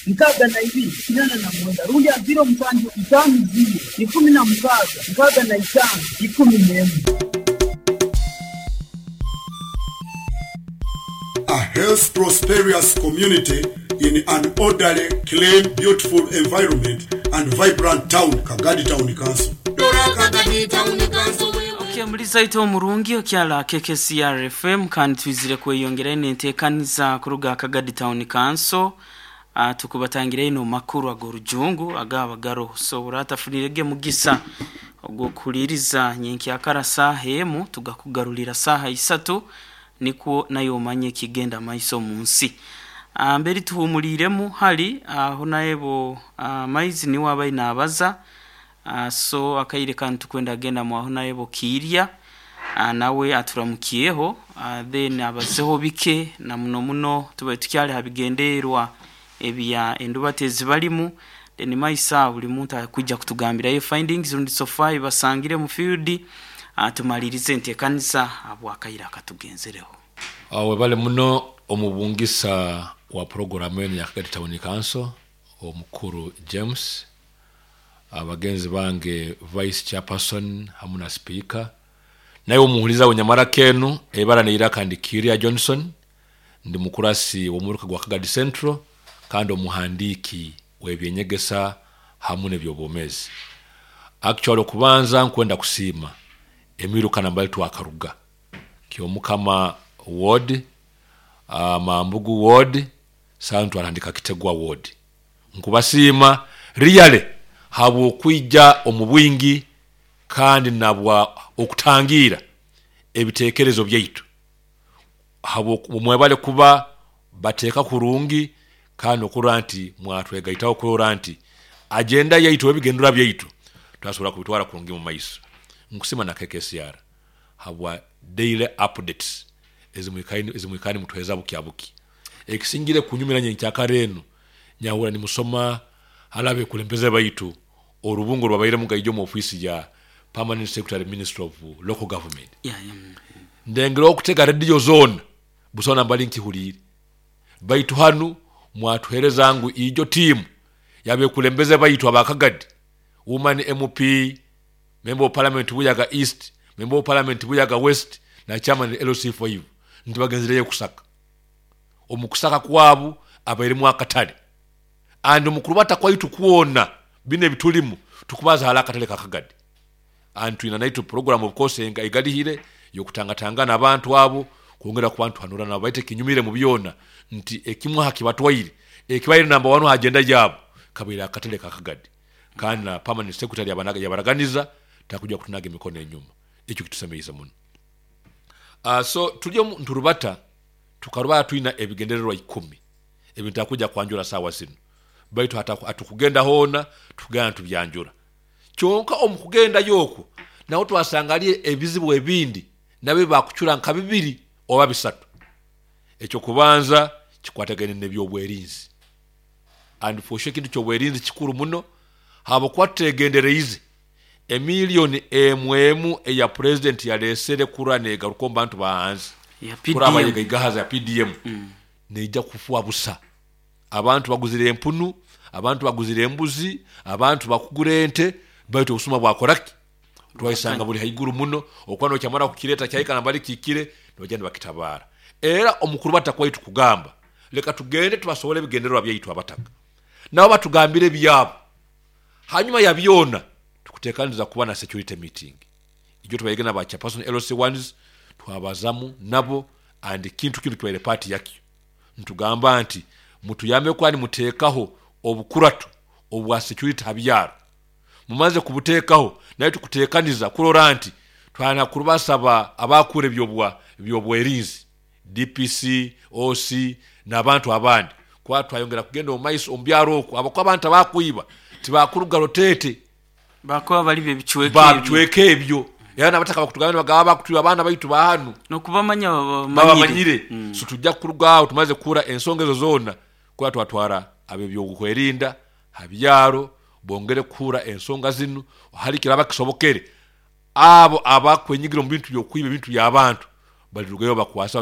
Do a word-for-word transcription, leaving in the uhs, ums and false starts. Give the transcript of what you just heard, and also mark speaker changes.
Speaker 1: nkaaga na ibiri kinana na mwenda rundi ha ziro musanju itaano ziro ikumi na mukaaga nkaaga na itaano ikumi n'emu.
Speaker 2: A health prosperous community in an orderly, clean, beautiful environment and vibrant town, Kagadi Town Council.
Speaker 3: Okay, muri zaito omurungi okyala K K C R F M kandi twizire kweyongera enteekaniza kuruga Kagadi Town Council. Uh, tukubatangira ino makuru ag'orujungu agabagaro so uratafunirege mugisa ogwokuliriza nyenki akara saha emu tugakugarulira saha isatu niko nayo manye kigenda maiso munsi. Uh, mberi tuhumuliremu hali aho uh, naebo uh, maizi ni wabaye nabaza uh, so akaire kantu kwenda agenda mu aho naebo kirya uh, nawe aturamukiyeho uh, then abazeho bike na muno muno tubaye tukyali habigenderwa ebya endubatezi balimu then maisa buli muntu akujja kutugambira ye findings rundi so far basangire mu field atumalirize ntekanisa abwakaira akatugenzereho.
Speaker 4: Awe bale muno omubungisa wa programu eno ya Kagadi Town Council omukuru James, abagenzi bange vice chairperson hamu na speaker, naye omuhuliza wenyamara kenu ebara neira kandi Kiria Johnson, ndi mukurasi w'omuruka gwa Kagadi Central kandi omuhandiki w'ebyenyegesa hamu n'ebyobomezi. Actually okubanza nkwenda kusiima emiruka nambali twakaruga Kyomukama ward, uh, Mambugu ward, santu arandika Kitegwa ward. Nkubasiima really habo kwijja omubwingi kandi nabwa okutangira ebitekerezo byaitu habo mwebale kuba bateeka kurungi kandi okurora nti mwatwegaitaho kurora nti agenda yaitu ebigendera byaitu twasobola kubitwara kurungi mu maiso. Nkusima na K K C R habwa daily updates ezimwikani ezimwikani mutweza bukyabuki ekisingire kunyumira nyenkyakare eno nyahura ni musoma halabe kulembeze baitu orubungo rwabaire mugaijo mu office ya Permanent Secretary Minister of Local Government.
Speaker 3: Yeah, yeah.
Speaker 4: Ndengero okutega radio zone busona mbali nkihulire baitu hanu mwatuhereza ngu ijo team yabe kulembeze baitu abakagadi woman M P, member of parliament Buyaga East, member of parliament Buyaga West na chairman L C five ntibagenzereye kusaka omukusaka kwabu abairimu akatale and omukurubata kwaitu kuona bine bitulimu tukubaza halaka tale kakagadi and twina naitu program of course enga igalihire yokutangatangana abantu abo kwongera ku bantu hanura na baite kinyumire mu byona nti ekimwa hakibatwaire ekibaire number one agenda yabo kabira akatale kakagadi kandi na permanent secretary yabanaga yabaraganiza takuja kutunaga emikono enyuma ekyo kitusemeiza muno. Uh, so tulyo nturubata tukaruba twina ebigendererwa ikumi ebintu akuja kwanjura sawa zino baitu atukugenda hona tugenda tubyanjura kyonka omukugenda yoko nawo twasangalie ebizibu ebindi nabe bakuchura nka bibiri oba bisatu. Ekyo kubanza kikwatagene n'ebyobwerinzi and for sure kintu kyobwerinzi kikuru muno habo kwategendereize emiliyoni emwemu eya president yalesere kura negaruko bantu bahanze
Speaker 3: ya P D M
Speaker 4: kura abayigahaza ya P D M mm. neija kufua busa abantu baguzire empunu, abantu baguzire embuzi, abantu bakugura ente baitu obusuma bwakoraki twaisanga buli haiguru muno okwano kyamara kukireta kyayika nambali kikire nojenda bakitabara. Era omukuru batakwaitu kugamba leka tugende tubasobole ebigendererwa byaitu abataka nabo batugambire byabo hanyuma ya byona tukutekaniza kuba na security meeting ijo tubayegena ba chairperson L C ones twabazamu nabo and kintu kintu kibaire party yakyo ntugamba nti mutuyambe kwani mutekaho obukuratu obwa security habyaro mumaze kubuteekaho naye tukutekaniza kurora nti twana kurubasaba abakure byobwa byobwerinzi D P C O C n'abantu abandi kwa twayongera kugenda omaiso ombyaro okwo abakwa abantu abakuiba tibakuruga rotete
Speaker 3: bakuba bali bebichweke
Speaker 4: babichweke ebyo era nabataka bakutugamba bagaba bakutuba abaana baitu bahanu
Speaker 3: nokubamanya
Speaker 4: babamanyire mm. So tujja kuruga tumaze kura ensonga ezo zona kwa twatwara abebyokwerinda habyaro bongere kura ensonga zinu hali kiraba kisobokere abo abakwenyigira mu bintu byokwiba bintu by'abantu balirugayo bakwasa.